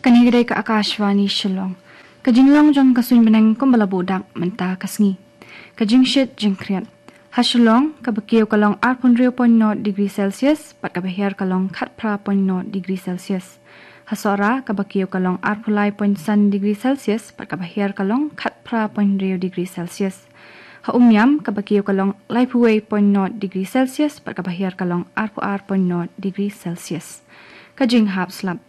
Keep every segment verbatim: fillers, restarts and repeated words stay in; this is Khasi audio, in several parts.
Kane ka dei ka Akashvani Shillong. Ka jinglong jong ka suiñ bneng kumba la buh dak mynta ka sngi. Ka jingshit jingkhriat. Ha Shillong, kaba kiew ka long arphew hynriew point nought degree Celsius, bad kaba hiar ka long khatphra point nought degree Celsius. Ha Sohra, kaba kiew ka long arphew lai point san degree Celsius, bad kaba hiar ka long khatphra point hynriew degree Celsius. Ha Umiam, kaba kiew ka long laiphew wei point nought degree Celsius, bad kaba hiar ka long arphew ar point nought degree Celsius. Ka jinghap slap.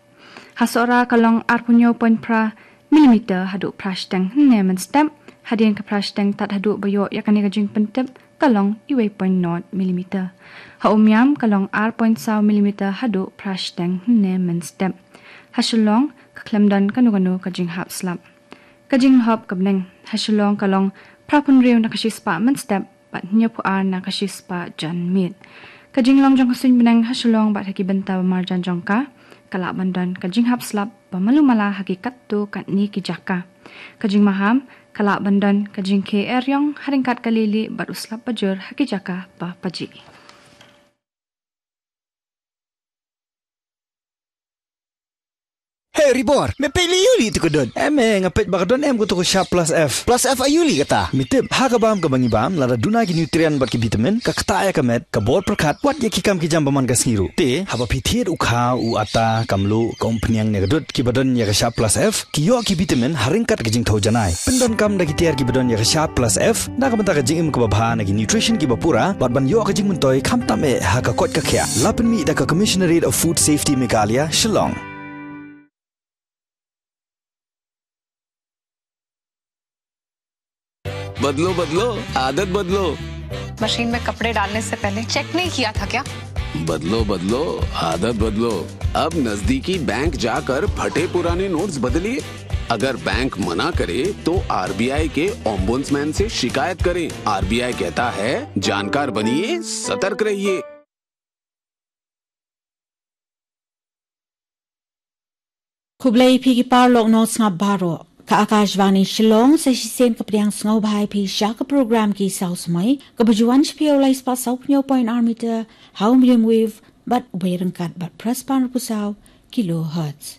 Ha Sohra ka long arphew hynñiew point phra millimeter haduh phra shiteng hynne mynstep, hadien ka phra shiteng tad haduh ba ïoh ïa kane ka jingpyntip ka long uwei point nought millimeter. Ha Umiam ka long ar point saw millimeter haduh phra shiteng hynne mynstep. Ha Shillong ka khlem don kano kano ka jinghap slap. Ka jinglhop ka bneng. Ha Shillong ka long phraphew hynriew na ka shispah mynstep, bad hynñiewphew ar na ka shispah janmiet. Ka jinglong jong ka suiñ bneng ha Shillong bad ha ki bynta ba marjan jong ka, ka lah ban don ka jinghap slap ba malu mala ha ki katto katne ki jaka. Ka jingmaham, ka lah ban don ka jingkhie eriong ha ryngkat ka lili bad u slap bajur ha ki jaka ba pajih. Hey Ribor, me peit lei aïu lei tu ka dud? Em eh, nga peit ba ka don em ka tu ka Sharp Plus F. Plus F aïu lei kata? Me tip, ha ka bam kaba ngi bam, lada duna ki nutrient bad ki vitamin, ka ktah ïa ka met, ka bor pyrkhat, wat ïa ki kam ki jam ba man ka sngi ruh. Te, haba phi thied u kha, u atta, ka mluh, ka umphniang ne ka dud, kiba don ïa ka Sharp Plus F, ki ïoh ki vitamin, ha ryngkat ka jingthew janai. Pyndonkam da ki tiar kiba don ïa ka Sharp Plus F, na ka bynta ka jingim kaba bha na ki nutrition kiba pura, bad ban ïoh ka jingmyntoi khamtam eh ha ka koit ka khiah. La pynmih da ka Commissionerate of Food Safety Meghalaya, Shillong. बदलो बदलो, आदत बदलो। मशीन में कपड़े डालने से पहले चेक नहीं किया था क्या? बदलो बदलो, आदत बदलो। अब नजदीकी बैंक जाकर फटे पुराने नोट्स बदलिए। अगर बैंक मना करे तो आरबीआई के ओम्बुड्समैन से शिकायत करें। आरबीआई कहता है, जानकार बनिए, सतर्क रहिए। Khublei phi ki paralok nongsngap baroh. Ka Akashvani Shillong, sa shisien ka pdiang sngewbha ïa phi sha ka program Ki Saw Samoi, kaba ju wan sha phi ha u lai spah saw phew hynñiew point ar meter ha u medium wave bad wei ryngkat bad phra spah hynriewphew saw kilohertz.